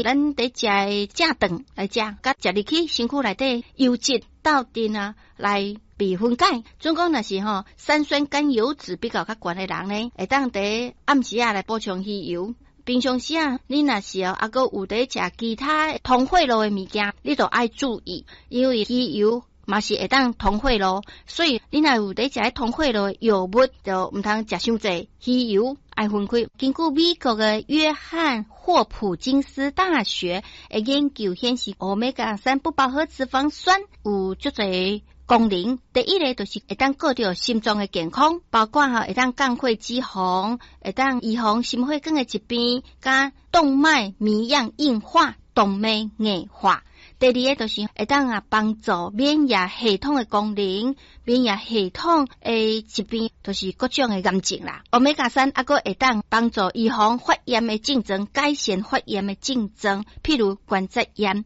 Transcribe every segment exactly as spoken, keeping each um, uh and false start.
對咱佇食的正頓來食，佮食入去身軀內底油脂鬥陣啊來被分解。準講若是吼三酸甘油酯比較較懸的人呢，會當佇暗時仔來補充魚油。平常時啊，你若是哦，猶閣有佇食其他糖化露的物件，你就愛注意，因為魚油嘛是會當糖化露，所以你若有佇食糖化露的藥物，就毋通食傷濟魚油，愛分開。根據美國的約翰霍普金斯大學的研究顯示，歐米伽三不飽和脂肪酸有足濟功能。第一个就是會當顧著心臟的健康，包括吼會當降血脂肪，會當預防心血管的疾病，佮動脈糜樣硬化、動脈硬化。第二个就是會當啊幫助免疫系統的功能，免疫系統的疾病，就是各種的癌症啦。歐米伽三猶閣會當幫助預防發炎的症狀，改善發炎的症狀，譬如關節炎。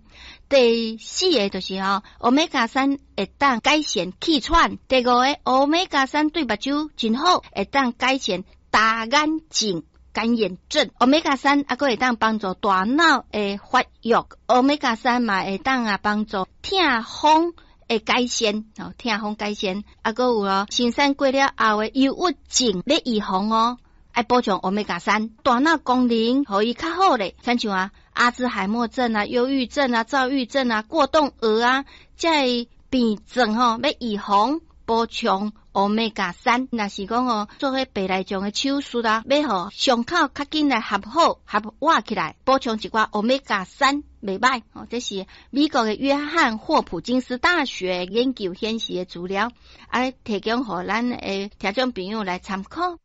第四个就是吼，歐米伽三會當改善氣喘。第五个，歐米伽三對目睭真好，會當改善乾眼症。乾眼症，歐米伽三猶閣會當幫助大腦的發育，歐米伽三嘛會當啊幫助痛風的改善，哦，痛風改善，猶閣有哦，生產過了後的憂鬱症咧預防哦，愛補充歐米伽三，大腦功能予伊較好咧，親像啊阿茲海默症啊、憂鬱症啊、躁鬱症啊、過動兒啊，這个病症吼欲預防補充歐米伽三，若是講哦，做彼白內障的手術啊，欲予傷口較緊來合好合活起來，補充一寡歐米伽三袂䆀哦。這是美國的約翰霍普金斯大學研究顯示的資料，啊，提供予咱的聽眾朋友來參考。